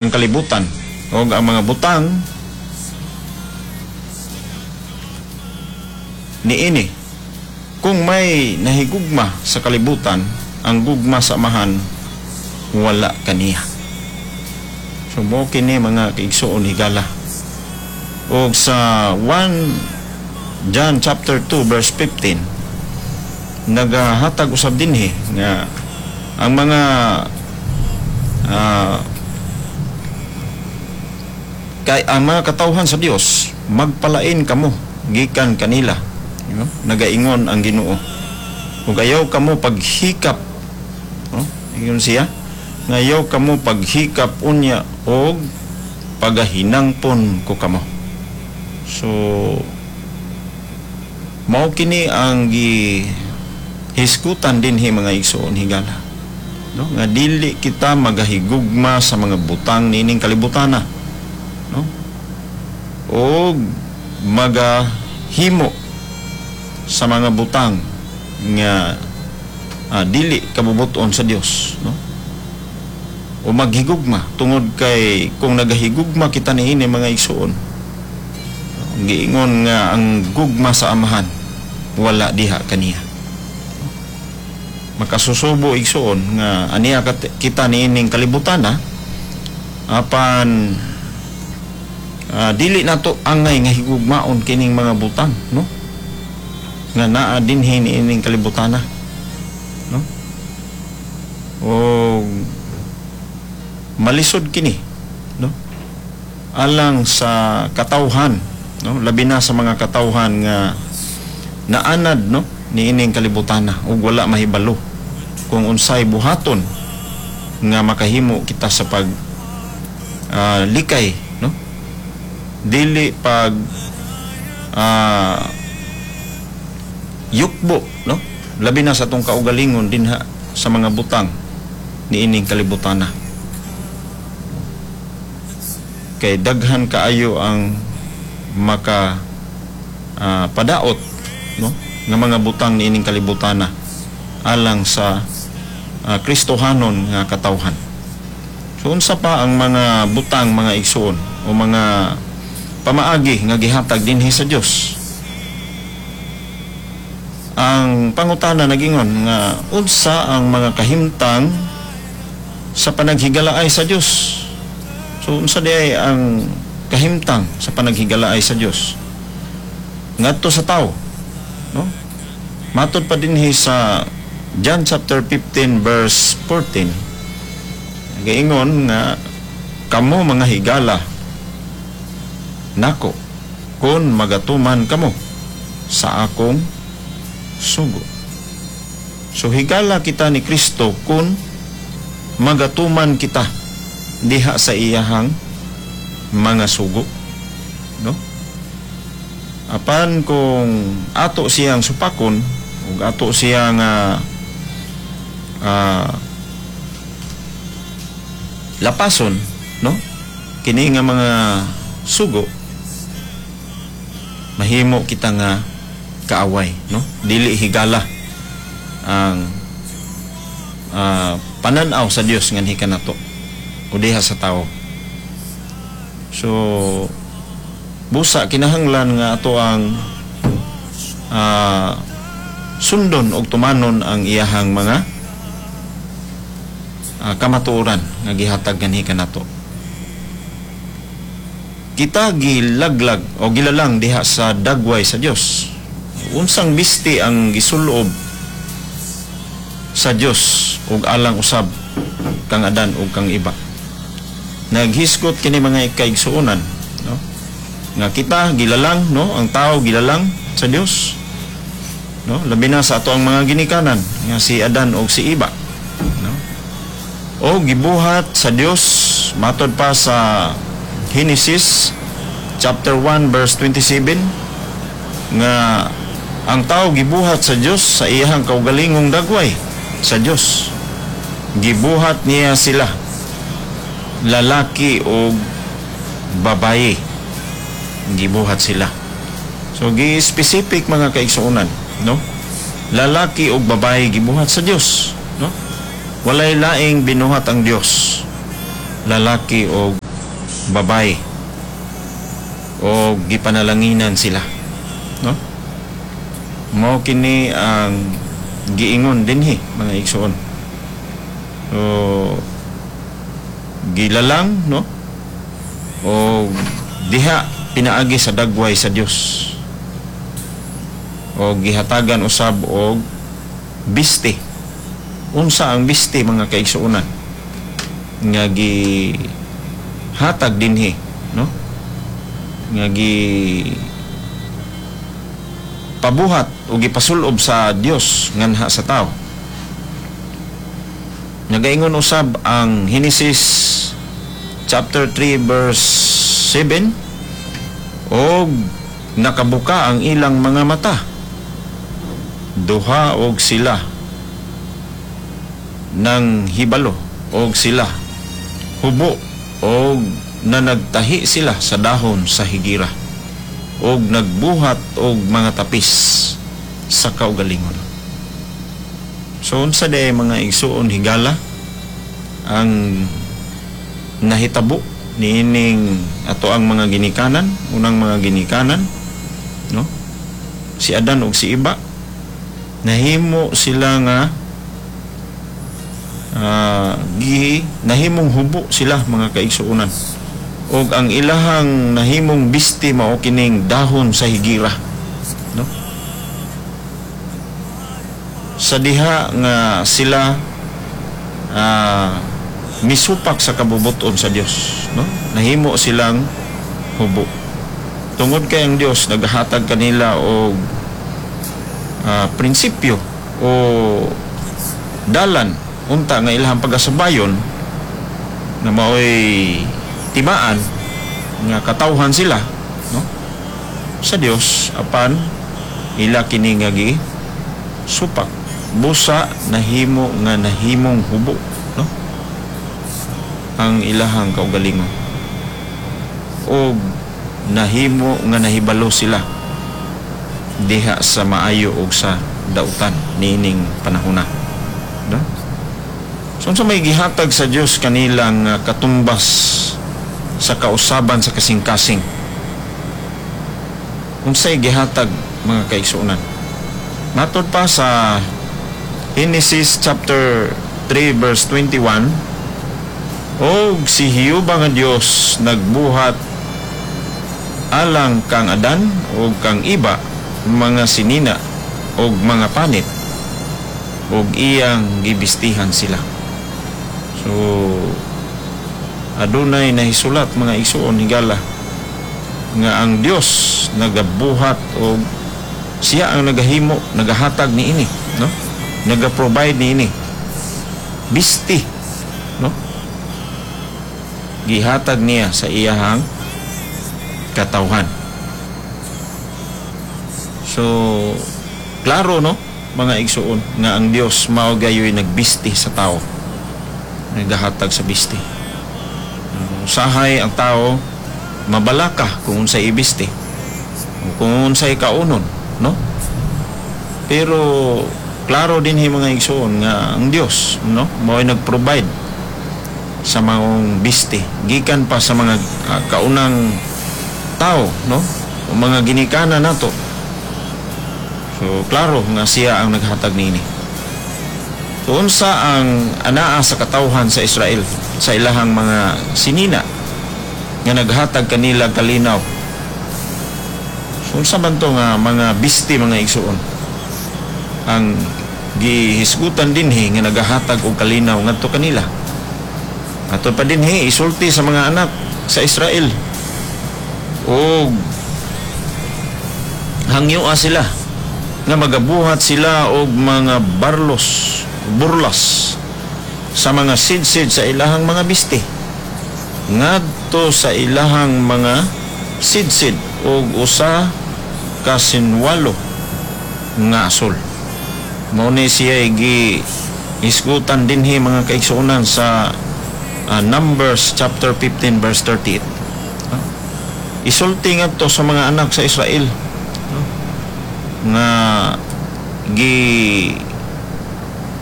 Kalibutan o ang mga butang niini. Kung may nahigugma sa kalibutan, ang gugma sa Amahan wala kaniya. So mo kini, mga kaigsuon, higala. Og sa 1 John chapter 2 verse 15, nagahatag usab dinhi nga ang mga kay ang mga katawhan sa Dios, magpalain kamo gikan kanila, no? Nagaingon ang Ginoo, ug ayaw kamo paghikap, no? Ingon siya nga ayaw kamo paghikap unya og pagahinangpon ko kamo. So mao kini ang gi hisgutan dinhi, mga igsoon higala, no, nga dili kita magahigugma sa mga butang niining kalibutana, no, og magahimo sa mga butang nga dili kabubuton sa Dios, no, o maghigugma, tungod kay kung nagahigugma kita niini, mga igsoon, giingon nga ang gugma sa Amahan wala diha kaniya. Makasusubo, igsoon, nga aniya kita niining kalibutan na, apan dili nato angay nga higugmaon kining mga butang, no, nga naa dinhi niining kalibutana, no, o malisod kini, no, alang sa katawhan, no, labi na sa mga katawhan nga naanad, no, niining kalibutana ug wala mahibalo kung unsay buhaton nga makahimo kita sa pag likay, no, dili pag yukbo, no, labi na sa atong kaugalingon dinha sa mga butang niining kalibutana, kay daghan kaayo ang maka padaot, no, nga mga butang niining kalibutana alang sa Kristohanon nga katawhan. So unsa pa ang mga butang, mga igsoon, o mga pamaagi nga gihatag dinhi sa Dios? Ang pangutana nagingon nga unsa ang mga kahimtang sa panaghigalaay sa Dios? So unsa diay ang kahimtang sa panaghigalaay sa Dios ngadto sa tao, no? Matod pa dinhi sa John chapter 15 verse 14, nagaingon nga kamo mga higala nako kung magatuman kamo sa akong sugo. So higala kita ni Kristo kung magatuman kita diha sa iyahang mga sugo, no? Apan kung ato siyang supakon ug ato siyang lapason, no, kini nga mga sugo, mahimo kita nga kaaway, no, dili higala ang pananaw sa Dios nganhi kanato o diha sa tao. So busa kinahanglan nga ato ang sundon og tumanon ang iyahang mga kamatuoran nga gihatag nganhi kanato. Kita gilaglag o gilalang diha sa dagway sa Dios. Unsang misti ang gisulob sa Dios ug alang usab kang Adan ug kang Eva? Naghisgot kini, mga kaigsuonan, no, nga kita gilalang, no, ang tao gilalang sa Dios, no, labi na sa ato ang mga ginikanan nga si Adan ug si Eva, no, o gibuhat sa Dios, matod pa sa Genesis chapter 1 verse 27, nga ang tao gibuhat sa Dios sa iyahang kaugalingong dagway sa Dios. Gibuhat niya sila lalaki o babaye, gibuhat sila. So gi-specific, mga kaigsuonan, no, lalaki o babaye gibuhat sa Dios, no? Walay laing binuhat ang Dios. lalaki o babae, o gipanalanginan sila, no? Mao kini ang giingon dinhi, mga igsoon. So gilalang, no, o diha pinaagi sa dagway sa Dios o gihatagan usab og biste. Unsa ang biste, mga kaigsuonan, nga gihatag dinhi, no, nga gi pabuhat o gipasulob sa Dios nganha sa tao? Nagaingon usab ang Genesis chapter 3 verse 7, "Og nakabuka ang ilang mga mata duha og sila nang hibalo og sila hubo, og nanagtahi sila sa dahon sa higira og nagbuhat og mga tapis sa kaugalingon." So unsa diay, mga igsuon, higala, ang nahitabo niining ato ang mga ginikanan, unang mga ginikanan, no? Si Adan ug si Iba, nahimo sila nga gi nahimong hubo sila, mga kaigsuonan, ug ang ilahang nahimong bisti mao kining dahon sa higira, no? Sa diha nga sila misupak sa kabubuton sa Dios, no, nahimo silang hubo tungod kay ang Dios naghatag kanila og prinsipyo o dalan unta nga ilahang pagasabayon na maoy timaan nga katawhan sila, no, sa Dios, apan ila kini nga gi supak, busa nahimo nga nahimong hubo, no, ang ilahang kaugalingon og nahimo nga nahibalo sila diha sa maayo og sa dautan niining panahona, no? So unsa may gihatag sa Dios kanilang katumbas sa kausaban sa kasing-kasing? Unsay gihatag, mga kaigsuonan? Matod pa sa Genesis chapter 3 verse 21, "Og si Jehova nga Dios nagbuhat alang kang Adan ug kang Iba mga sinina ug mga panit ug iyang gibistihan sila." So adunay nahisulat, mga igsuon, higala, nga ang Dios nagabuhat og siya ang nagahimo, nagahatag niini, no, naga-provide niini bisti, no, gihatag niya sa iyahang katawhan. So klaro, no, mga igsuon, nga ang Dios mao gayoy nagbisti sa tao, nagahatag sa bisti. Usahay ang tao mabalaka kung unsay ibisti o kung unsay kaunon, no? Pero klaro din hi, mga igsuon, nga ang Dios, no, mao'y nag-provide sa maong bisti gikan pa sa mga kaunang tao, no, o mga ginikanan nato. So klaro nga siya ang naghatag niini. So unsa ang anaa sa katawhan sa Israel sa ilahang mga sinina nga naghatag kanila kalinaw? So unsa man to nga mga bisti, mga igsuon, ang gihisgutan dinhi nga nagahatag og kalinaw ngadto kanila? Ato pa dinhi, "Isulti sa mga anak sa Israel og hangyoa sila nga magabuhat sila og mga barlos, burlas sa mga sidsid sa ilahang mga bisti ngadto sa ilahang mga sidsid og usa ka sinwalo nga asol." Mao ni siya gi hisgutan dinhi, mga kaigsuonan, sa Numbers chapter 15 verse 38. Isulti ngadto sa mga anak sa Israel, no, nga gi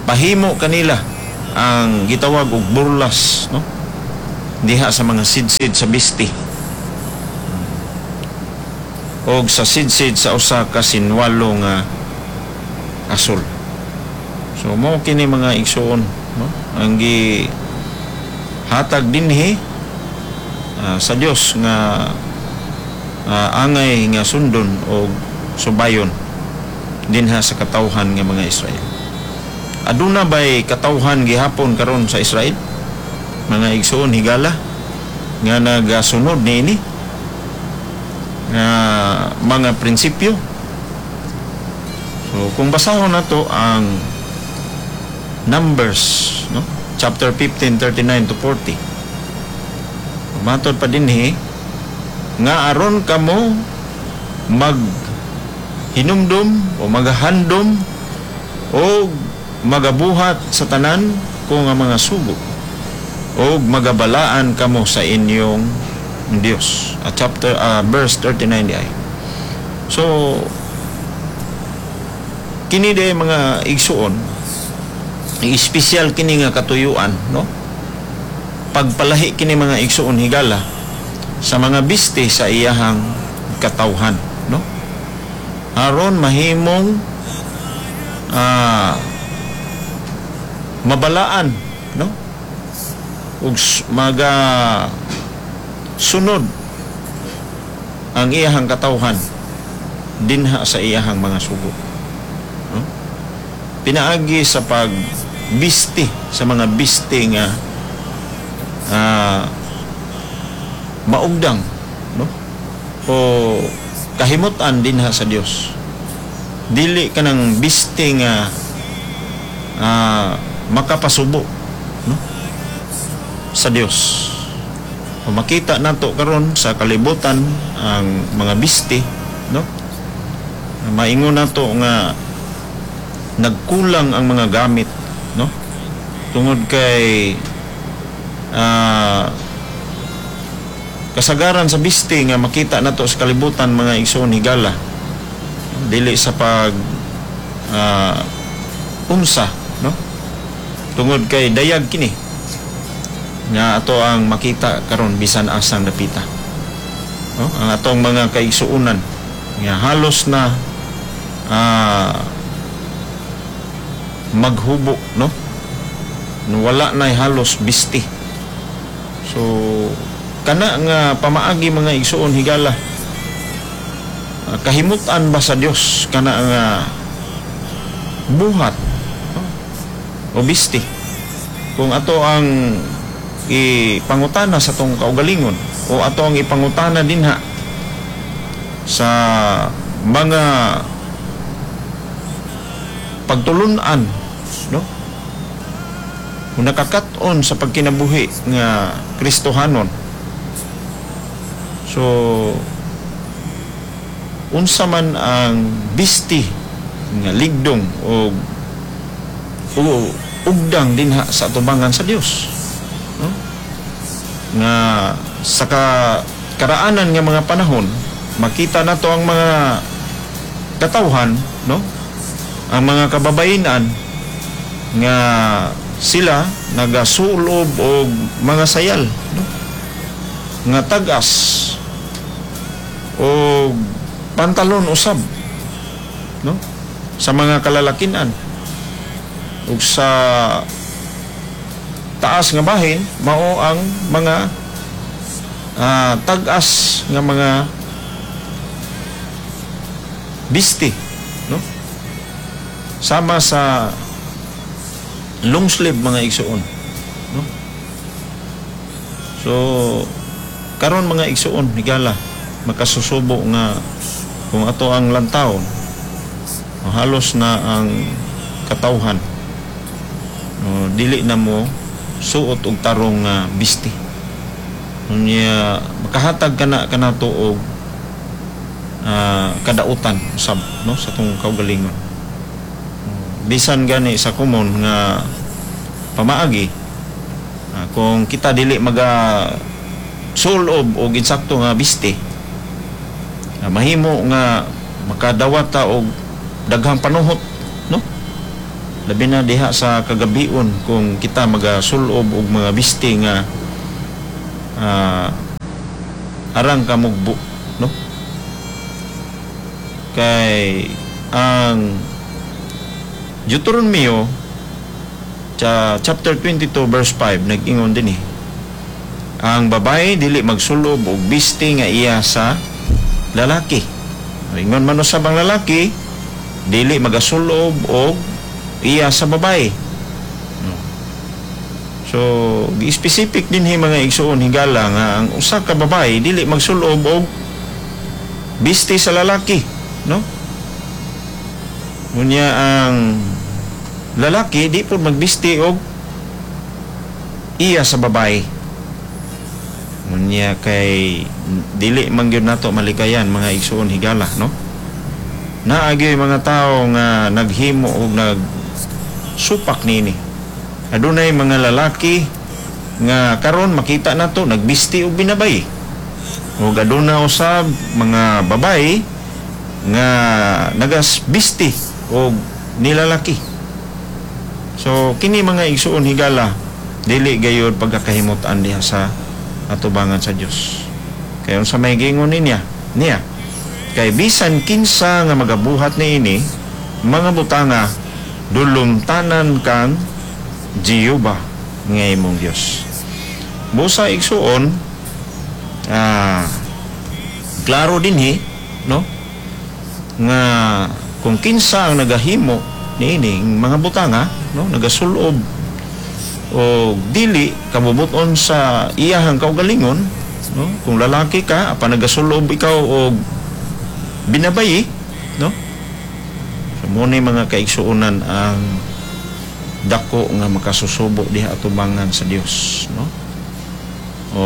pahimo kanila ang gitawag og burlas, no. Diha sa mga sidsid sa bisti og sa sidsid sa usa ka sinwalo nga asul. So mao kini, mga igsuon, no, ang gi hatag dinhi sa Dios nga angay nga sundon og subayon dinha sa katawhan nga mga Israel. Aduna bay katawhan gihapon karon sa Israel, mga igsuon higala, nga nagasunod niini nga mga prinsipyo? So kung basahon nato ang Numbers, no, chapter 15 39 to 40, matod pa dinhi nga aron kamo mag hinumdum o magahandom o magabuhat sa tanan ko nga mga sugo o magabalaan kamo sa inyong Dios. Chapter verse 39 di ay. So kini de, mga igsuon, espesyal kini nga katuyuan, no, pagpalahi kini, mga igsuon higala, sa mga biste sa iyahang katawhan, no, aron mahimong mabalaan, no, ug maga sunod ang iyahang katawhan dinha sa iyahang mga sugo, no? Pinaagi sa pagbisti sa mga biste nga maugdang, no, o kahimutan dinha sa Dios, dili kanang biste nga makapasubo, no, sa Dios. O makita nato karon sa kalibutan ang mga biste, no, maingon nato nga nagkulang ang mga gamit, no, tungod kay kasagaran sa biste nga makita nato sa kalibutan, mga igsoon higala, dili sa pag unsa, no, tungod kay dayag kini nga ato ang makita karon bisan asang dapita, no, ang atong mga kaigsuonan nga halos na maghubo, no, wala na halos bisti. So kana nga pamaagi, mga igsuon higala, kahimutan ba sa Dios kana nga buhat, no, o bisti, kung ato ang ipangutana sa atong kaugalingon o ato ang ipangutana dinha sa mga pagtulunan, no, kung nakakat-on sa pagkinabuhi nga Kristohanon? So unsa man ang bisti nga ligdong o ugdang dinha sa atubangan sa Dios, no, nga sa karaanan nga mga panahon makita nato ang mga katawhan, no, ang mga kababayenan nga sila nagasulob og mga sayal, no, nga tag-as og pantalon usab, no, sa mga kalalakinan, ug sa taas nga bahin mao ang mga tag-as nga mga bisti, no, sama sa long sleeve, mga igsuon, no. So karon, mga igsuon higala, makasusubo nga kung ato ang lantawon, halos na ang katawhan, no, dili na mo suot og tarong nga bisti. Unya makahatag kana kanato og kadautan usab, no, sa atong kaugalingon, bisan gani sa common nga pamaagi. Kung kita dili maga sulob og insakto nga biste, mahimo nga makadawat ta og daghang panuhot, no, labi na diha sa kagabion kung kita magasulob og mga biste nga Arang kamugbo, no? Kay ang Deuteronomio sa chapter 22 verse 5 nag-ingon din eh, ang babae dili magsulob og bisti nga iya sa lalaki. Ingon man usab ang lalaki, dili magasulob og iya sa babae, no? So gi-specific din hi, mga igsuon higala, nga ang usa ka babae dili magsulob og bisti sa lalaki, no? Unya ang lalaki di po magbisti og iya sa babae. Unya kay dili man gyud nato malikayan, mga igsuon higala, no? Naa gyoy mga tao nga naghimo og nag supak niini. Adunay mga lalaki nga karon makita nato nagbisti og binabay. Ug aduna usab mga babae nga nagasbisti og nilalaki. So kini, mga igsuon higala, dili gayud pagkakahimutan diha sa atubangan sa Dios. Kay unsa may giingon niya? Niya. Kay bisan kinsa nga magabuhat niini mga butanga, dulumtanan kang Jehova nga imong Dios. Busa, igsuon, klaro dinhi, no, nga kung kinsa ang nagahimo niini mga butanga, no, nagasulob o dili kabubuton sa iyahang kaugalingon, no, kung lalaki ka apan nagasulob ikaw og binabayi, no, so mo ni, mga kaigsuonan, ang dako nga makasusubo diha atubangan sa Dios, no, o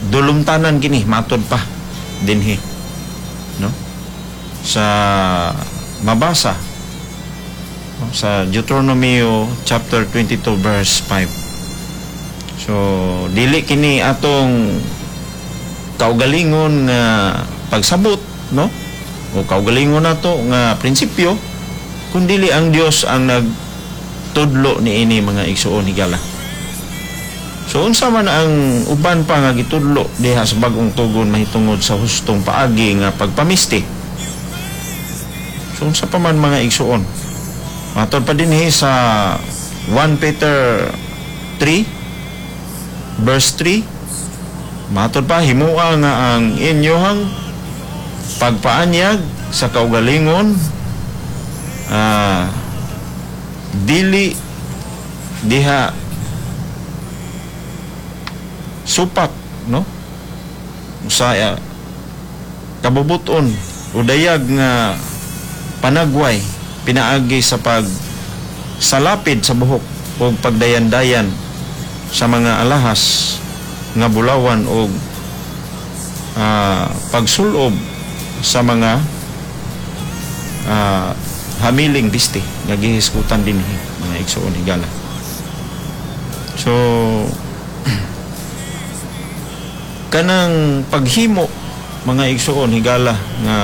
dulumtanan kini matod pa dinhi, no, sa mabasa, no, sa Deuteronomy chapter 22 verse 5. So dili kini atong kaugalingon nga pagsabot, no, o kaugalingon nato nga prinsipyo, kundili ang Dios ang nagtudlo niini, mga igsuon higala. So unsa man ang uban pa nga gitudlo diha sa Bagong Tugon mahitungod sa hustong paagi nga pagpamisti? So unsa pa man, mga igsuon? Matod pa dinhi sa 1 Peter 3 verse 3, matod pa, himua nga ang inyohang pagpaanyag sa kaugalingon dili diha supak, no, sa kabubuton o dayag nga panagway pinaagi sa pag salapid sa buhok o pagdayan-dayan sa mga alahas nga bulawan o pagsulob sa mga hamiling bisti nga gihisgutan dinhi, mga igsuon higala. So kanang paghimo, mga igsuon higala, nga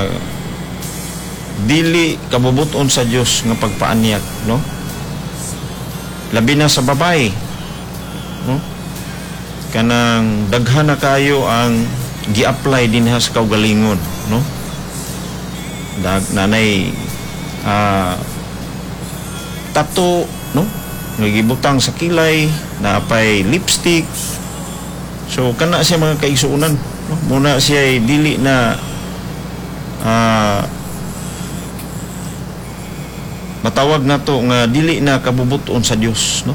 dili kabubuton sa Dios nga pagpaanyag, no, labi na sa babae, no, kanang daghan na kayo ang gi-apply dinha sa kaugalingon, no, dag nanay tato, no, nga gibutang sa kilay, naapay lipstick. So kana siya, mga kaigsuonan, no? Muna siya ay dili na matawag nato nga dili na kabubuton sa Dios, no,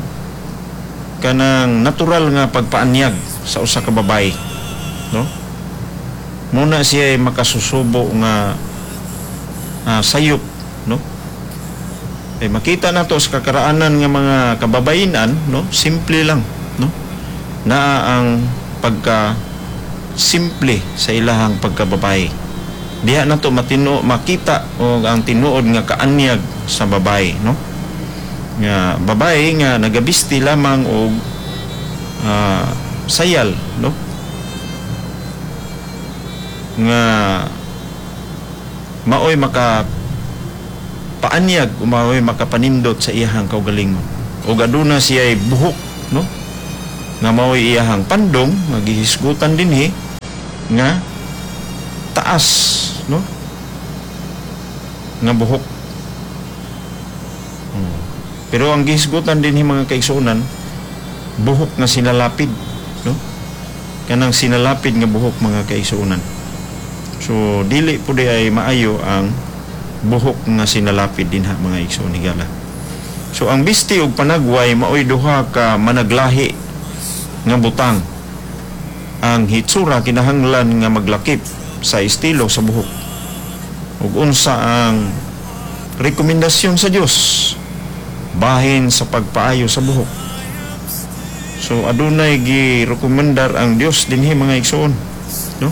kanang natural nga pagpaanyag sa usa ka babae, no. Muna siya ay makasusubo nga sayop, no. Eh, makita nato sa kakaraanan nga mga kababayinan, no, simple lang, no, naa ang pagka simple sa ilahang pagkababae. Diha nato matino makita og ang tinuod nga kaanyag sa babae, no, nga babae nga nagabisti lamang og sayal, no, nga maoy maka paanyag o maoy makapanindot sa iyahang kaugalingon, ug aduna siya buhok, no. Nga mao'y iyahang pandong nga gihisgutan dinhi nga taas, no, nga buhok. Pero ang gihisgutan dinhi, mga kaigsuonan, buhok nga sinalapid, no, kanang sinalapid nga buhok, mga kaigsuonan. So dili po diay maayo ang buhok nga sinalapid dinha, mga igsoon higala. So ang bisti ug panagway maoy duha ka managlahi nga butang. Ang hitsura kinahanglan nga maglakip sa estilo sa buhok. Ug unsa ang rekomendasyon sa Dios bahin sa pagpaayo sa buhok? So adunay gi-rekomendar ang Dios dinhi, mga igsoon, no,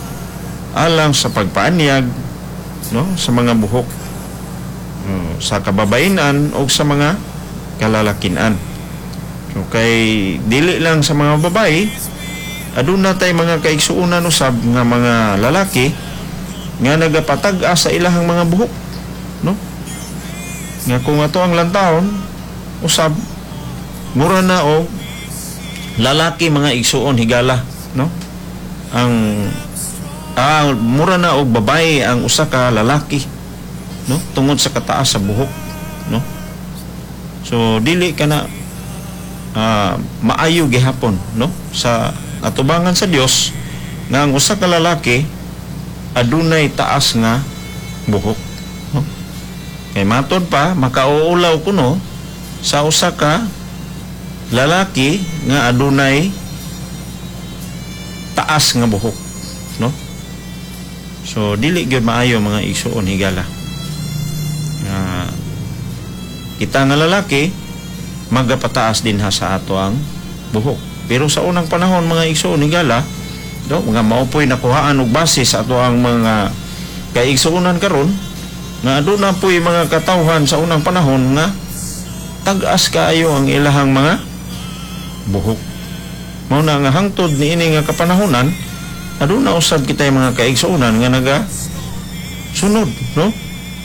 alang sa pagpaanyag, no, sa mga buhok, no, sa kababayenan o sa mga kalalakian. So kay dili lang sa mga babae, aduna tay mga kaigsuonan usab nga mga lalaki nga nagapatag-as sa ilahang mga buhok, no, nga kung ato ang lantawon usab, mura na og lalaki, mga igsuon higala, no, ang mura na og babae ang usa ka lalaki, no, tungod sa kataas sa buhok, no. So dili kana maayo gihapon, no, sa atubangan sa Dios nga ang usa ka lalaki adunay taas nga buhok, no? Kay matod pa makauulaw kuno sa usa ka lalaki nga adunay taas nga buhok, no. So dili gyud maayo, mga igsuon higala, nga kita nga lalaki magapataas dinha sa ato ang buhok. Pero sa unang panahon, mga igsuon higala, no, mga mao po'y nakuhaan og base sa ato ang mga kaigsuonan karon nga aduna po'y mga katawhan sa unang panahon nga tag-as kaayo ang ilahang mga buhok. Mao na nga hangtod niini nga kapanahonan, aduna usab kitay mga kaigsuonan nga naga sunod, no,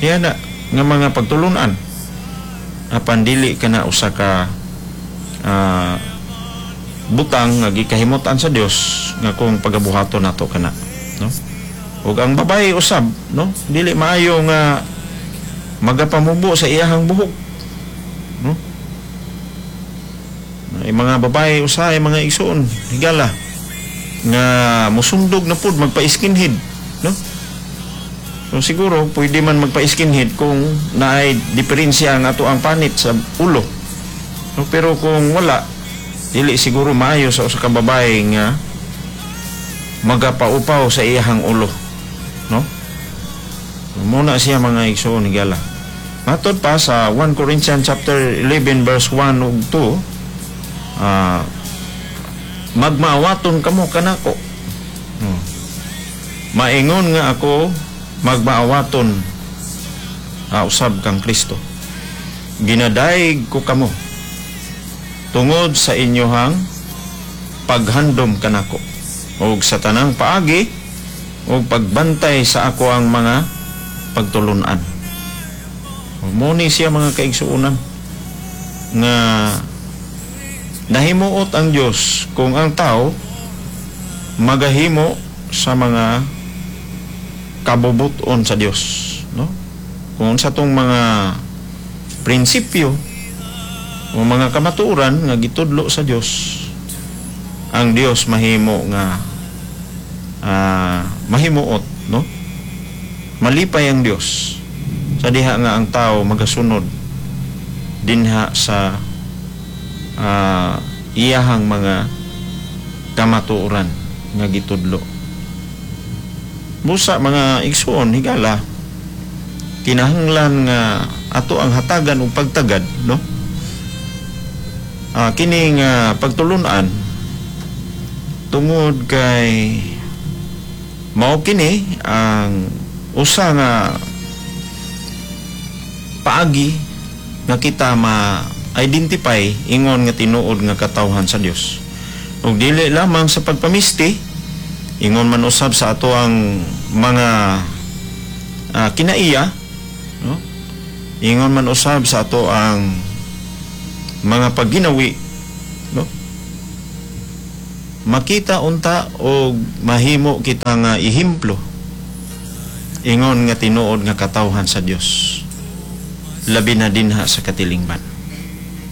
yan na nga mga pagtulunan, apan dili kana usa ka butang nga gikahimutan sa Dios nga kung pagabuhaton nato kana, no. Ug ang babae usab, no, dili maayo nga magapamubo sa iyahang buhok, no. Ay mga babae usahay, mga igsuon higala, nga musundog na pud magpa-skinhead, no. So siguro pwede man magpa-skinhead kung naay diferensya ang ato ang panit sa ulo, no? Pero kung wala, dili siguro maayo sa usa ka babae nga magapaupaw sa iyahang ulo, no. Muna siya, mga igsoon higala. Matod pa sa 1 Corinthians chapter 11 verse 1 ug 2, magmaawaton kamo kanako. Maingon nga ako magmaawaton usab kang Kristo. Ginadayeg ko kamo tungod sa inyohang paghandom kanako ug sa tanang paagi ug pagbantay sa ako ang mga pagtulunan. Mao ni siya, mga kaigsuonan, nga nahimuot ang Dios kung ang tao magahimo sa mga kabubuton sa Dios, no, kung sa tong mga prinsipyo o mga kamatuoran nga gitudlo sa Dios, ang Dios mahimo nga mahimuot, no, malipay ang Dios sa diha nga ang tao magasunod dinha sa iyahang mga kamatuoran nga gitudlo. Busa, mga igsuon higala, kinahanglan nga ato ang hatagan og pagtagad, no, kining pagtulunan, tungod kay mao kini ang usa nga paagi nga kita ma-identify ingon nga tinuod nga katawhan sa Dios. Ug dili lamang sa pagpamisti, ingon man usab sa ato ang mga kinaiya, no? Ingon man usab sa ato ang mga pagginawi, no? Makita unta og mahimo kita nga ehemplo ingon nga tinuod nga katawhan sa Dios, labi na dinha sa katilingban,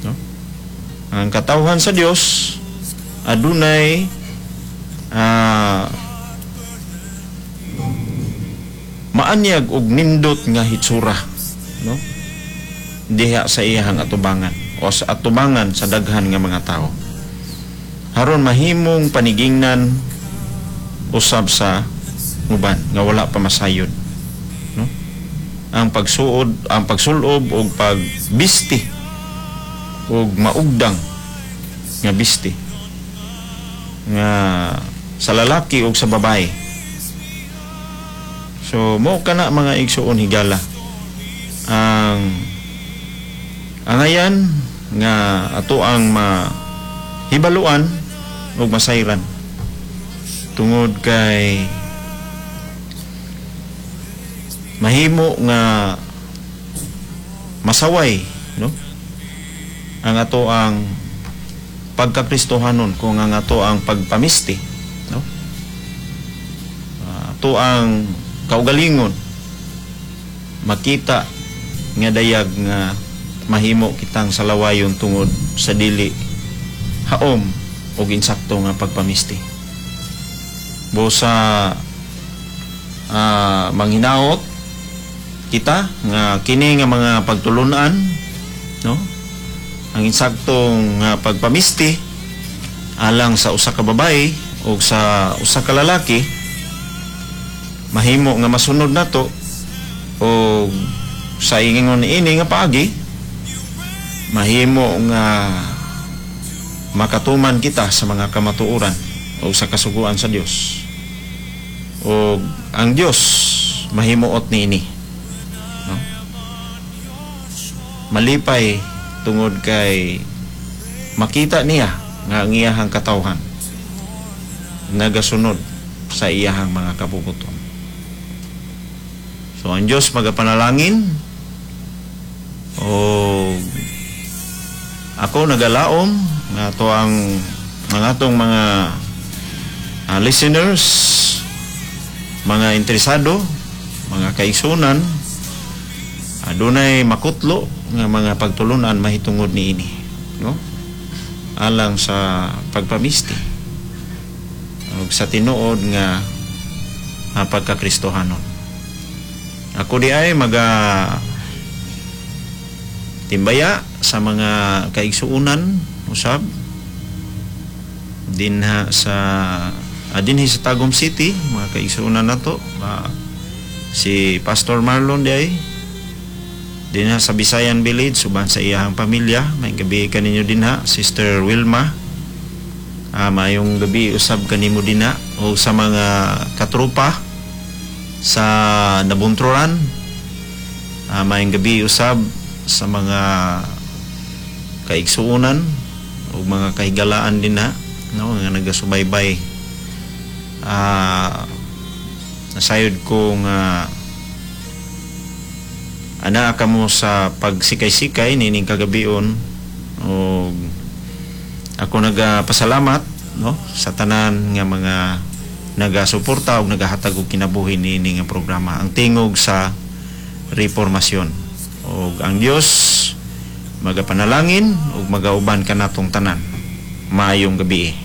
no? Ang katawhan sa Dios adunay maanyag og nindot nga hitsura, no, diha sa iyahang atubangan o sa atubangan sa daghan nga mga tao, aron mahimong panigingnan usab sa uban nga wala pa masayod, no, ang pagsuod, ang pagsulob og pagbisti og maugdang nga bisti nga sa lalaki og sa babae. So mo kana, mga igsuon higala, ang angayan nga ato ang mahibaluan ug masayran tungod kay mahimo nga masaway, no, ang ato ang pagkakristohanon kung ang ato ang pagpamisti, no, ato ang kaugalingon makita nga dayag nga mahimo kitang salawayon tungod sa dili haom og insakto nga pagpamisti. Busa manghinaot kita nga kini nga mga pagtulunan, no, ang insaktong nga pagpamisti alang sa usa ka babae o sa usa ka lalaki, mahimo nga masunod nato o sa ingon ini nga paagi mahimo nga makatuman kita sa mga kamatuoran o sa kasuguan sa Dios, o ang Dios mahimuot niini, no? Malipay tungod kay makita niya nga ang iyahang katawhan nagasunod sa iyahang mga kabubuton. So ang Dios magapanalangin o ako nagalaom nga ato ang atong mga listeners, mga interesado, mga kaigsunan, adunay makutlo nga mga pagtulunan mahitungod niini, no, alang sa pagpamisti ug sa tinuod nga pagkakristohanon. Ako di ay maga timbaya sa mga kaigsuunan usab dinha sa dinhi sa Tagum City, mga kaigsuunan nato, si Pastor Marlon di ay dinha sa Bisayan Village uban sa iyahang pamilya. May gabi kaninyo dinha, Sister Wilma. Maayong gabi usab kanimo dinha o sa mga katropa sa Nabunturan. Maayong gabi usab sa mga kaigsuonan o mga kahigalaan dinha, no, nga nagasubaybay. Nasayod ko nga anaa kamo sa pagsikay-sikay nining kagabion o ako nagapasalamat, no, sa tanan nga mga nagasuporta o nagahatag og kinabuhi niini nga programa, Ang Tingog sa Reformasyon, og ang Dios magapanalangin ug magauban kanatong tanan. Maayong gabi.